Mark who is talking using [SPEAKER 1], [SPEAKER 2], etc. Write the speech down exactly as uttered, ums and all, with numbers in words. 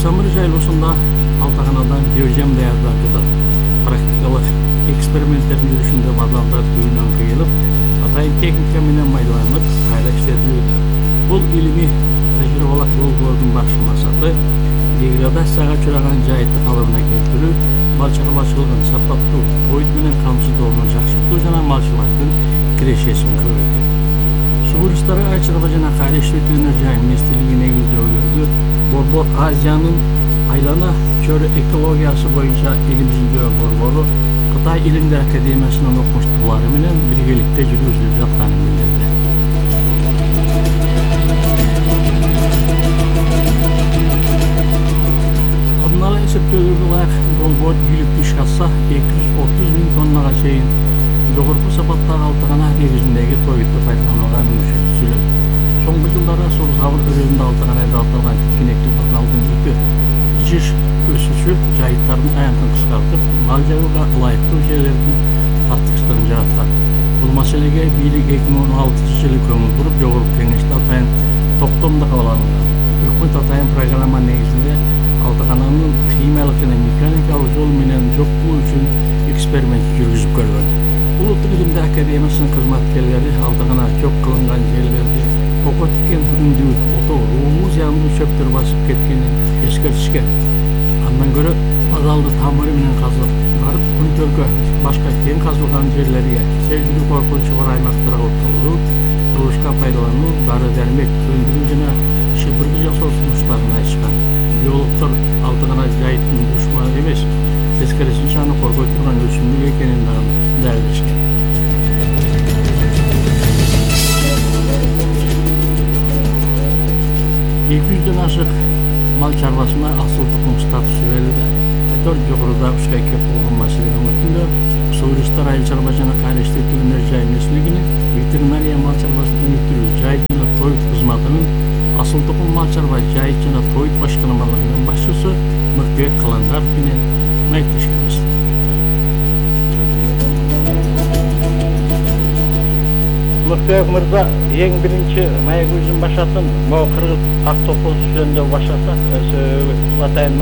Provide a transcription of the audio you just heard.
[SPEAKER 1] Самыр жайлоосунда Алтаканадан биожем даярдап жатат. Практикалык эксперименттердин жүрүшүндө бадалдар түбүнөн кыйылып, атайын техника менен майдаланып, кайра иштетилүүдө. Бул илимий тажрыйбалык долбоордун башкы максаты деградацияга учураган жайытты калыбына келтирүү, мал чарбачылыгын сапаттуу, тоют менен камсыздоону жакшыртуу жана малчылардын кирешесин көбөйтүү. Сug'uristlara ay чарба жана кайра иштетүү өнөр жай министрлиги негиздөөдөрдү Борбор Азиянын айлана чөйрө экологиясы боюнча элибиздин борбору Кытай илимдер академиясынын окумуштуулары менен биргеликте жүргүзүлүп жатканын билдирди. Алдын эсептөөлөргө ылайык долбоор ийгиликтүү ишке ашса эки жүз отуз миң тоннага чейин жогорку сапаттагы Алтакана негизиндеги тоютты пайдаланууга мүмкүнчүлүк түзүлөт. Соңку жылдары Сорузабыр өрөөнүндө Алтаканада аталган тикенектүү бадалдын үтү жыш өсүшү жайыттардын аянтын кыскартып, мал жайууга ылайыктуу жерлердин тартыштыгын жараткан. Бул маселеге бийлик эки миң он алтынчы жылы көңүл буруп, жогорку кеңеште атайын токтом да кабыл алынган. Өкмөт атайын программа негизинде Алтакананын химиялык жана механикалык жол менен жок кылуу үчүн эксперимент жүргүзүп көргөн. Улуттук илимдер академиясынын кызматкерлери Алтакана жок кылынган жерлерди кoko тикен үндүү, ото, ууму зыяндуу чөптөр басып кеткенин эскертишкен. Андан көрө бадалды тамыры менен казып барып, күнтөргө башка кең казылган жерлерге, сезилүү коркунучу бар аймактарга отуруу, курулушка пайдалануу, дары-дармек өндүрүү жана шыпыргы жасоо сунуштарын айтышкан. Биологдор Алтакана жайыттын душманы эмес, тескерисинче аны коргой турган өсүмдүк экенин дагы далилдешкен. эки жүздөн ашык мал чарбасына асыл тукум статусу берилди. Айтор жогоруда ушка кеп болгон маселени өтүндө Сug'uristlar айыл чарба жана кайра иштетүү өнөр жай министрлигинин ветеринария мал чарбасын өнүктүрүү, жайыт жана тоют кызматынын асыл тукум мал чарба жайыт жана тоют башкармаларынын башчысы Мыкбек Каландаров менен маектешкенбиз. Мыкбек мырза, эң биринчи маегибиздин башатын могу кыргыз ак топоз жөнүндө баштасак, атайын